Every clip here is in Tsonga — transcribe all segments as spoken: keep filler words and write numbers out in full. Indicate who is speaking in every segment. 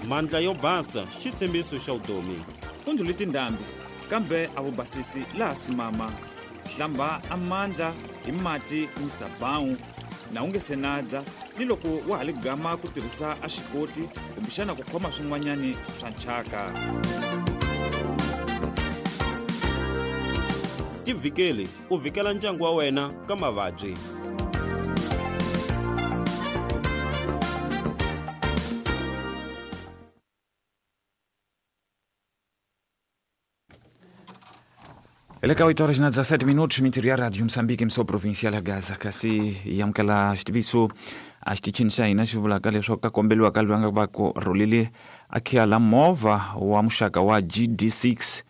Speaker 1: Mandla yo basa xitshembiso xa vutomi.
Speaker 2: U ndlhule tindhambi kambe a wu basisi laha simama. Hlamba amandla hi mati ni sabawu na u nge se nadla ni loko wa ha li gama ku tirhisa a xikoti kumbexana ku khoma swin'wanyani swa nchaka.
Speaker 1: Tivhikeli u vhikela ndyangu wa wena ka mavabyi.
Speaker 2: Ele ka oito horas na dezassete minutos, mintirho ya Rádio Moçambique, emissão provincial ya Gaza, kasi hi amukela xitiviso a xitichini xa hina xi vulaka leswaku ka kombeliwa ka loyi a nga va ku rhulile a khiya la movha wa muxaka wa G D six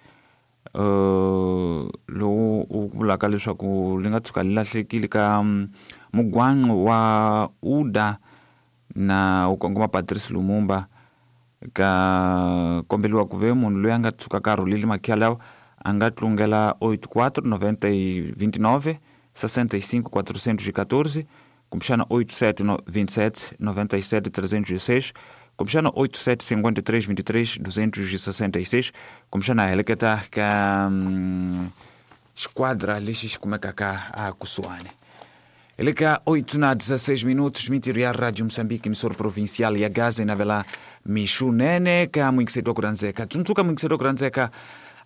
Speaker 2: uh, lowu u vulaka leswaku li nga tshuka li lahlekile ka mugwanqo wa Uda na u kongoma Patrice Lumumba. Ka kombeliwa ku ve munhu loyi a nga tshuka ka rhulile makhiya lawa a nga tlungela oito quatro noventa e vinte e nove sessenta e cinco quatrocentos e quatorze, kumbexana oito sete vinte e sete noventa e sete trezentos e seis, kumbexana oito sete cinquenta e três vinte e três duzentos e sessenta e seis, kumbexana a heleketa ka hum, esquadra lexi xi kumekaka ka a kusuhani. Ele ka oito na dezesseis minutos, mintirho ya Rádio Moçambique, emissora provincial ya Gaza, inavela mixunene ka muingiseto wa ku rhandzeka. Tsundzuka muingiseto wa ku rhandzeka,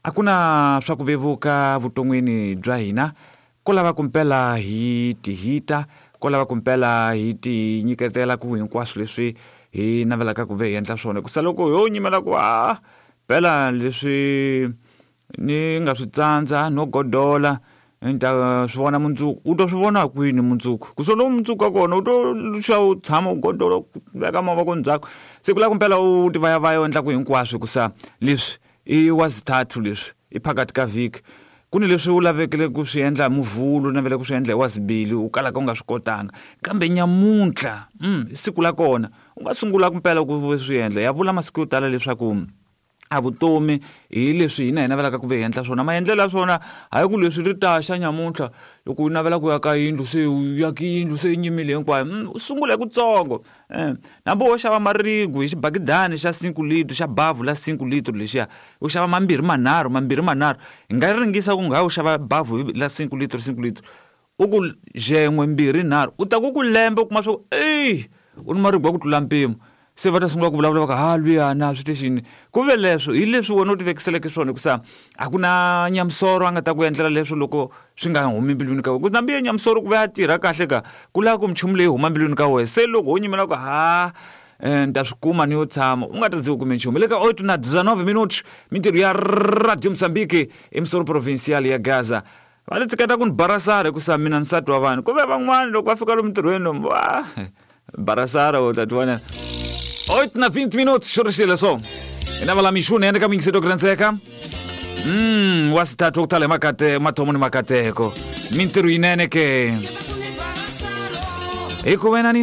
Speaker 2: a ku na swa ku vevuka vuton'wini bya hina, ko lava ku mpela hi tihita, ko lava ku mpela hi ti nyiketela ku hinkwaswo leswi hi navelaka ku ve hi endla swona. Ku sa loko ho nyimela ku a pela leswi ni nga swi tsandza no godola ni ta swi vona mundzuku. U to swi vona kwini mundzuku? Ku so lowu mundzuku wa kona u to xa u tshama u godola u veka mavoko ndzhaku. Se ku lava ku mpela u ti vayavaya u endla ku hinkwaswo hikusa leswi i wa zithathu leswi i phakathi ka vhiki. Ku ni leswi u lavekele ku swi endla hi Muvhulu, u navele ku swi endla hi Wazibili, u kalaka u nga swi kotanga. Kambe nyamuntlha, mm, siku la kona u nga sungula ku mpela ku swi endla. Ya vula masiku yo tala leswaku a vutomi hi leswi hina hi navelaka ku ve hi endla swona. Maendlelo ya swona hayi ku leswi ri ta xa nyamuntlha loko u navela ku ya ka yindlu se u ya ka yindlu se yi nyimile hinkwayo. Mm, u sungula hi kutsongo. Eh, hambi wo xava marigu hi xibakidani xa cinco litro, xa bavhu la cinco litro lexiya, u xava mambirhi manharhu, mambirhi manharhu. Hi nga ringisa ku nga u xava bavhu la cinco litro, cinco litro. U ku xen'we mbirhi nharhu, u ta ku ku lembe u kuma swa ku ey, u ni marigu ya ku tlula mpimo. Se va ta sungula ku vulavula va ku ha luyana swi texini. Ku ve leswo hi leswi wena u ti vekiseleke swona hikusa a ku na nyamusoro a nga ta ku endlela leswo loko swi nga humi mbilwini ka wena. Ku nambi nyamusoro ku ve a tirha kahle ka ku lava ku minchumu leyi huma mbilwini ka wena. Se loko ho nyimela ku ha ni ta swi kuma ni yo tshama u nga ta ndzi kume nchumu. Le ka oito na dezenove minutos, mintirho ya Radio Moçambique, emissora provincial ya Gaza. Va li tshiketa ku ni barasara hikusa mina nsati wa vanhu. Ku ve van'wani loko va fika lomu ntirhweni lomu, wa barasara u ta ti vona. Oito na vinte minutos, xorixile so. Inava la mixune ende ka mingiseto kurandzeka. Mm, wa sithathu ku tala hi makate, mathomo ni makateko. Mintirho yinene ke. Hi ku wena ni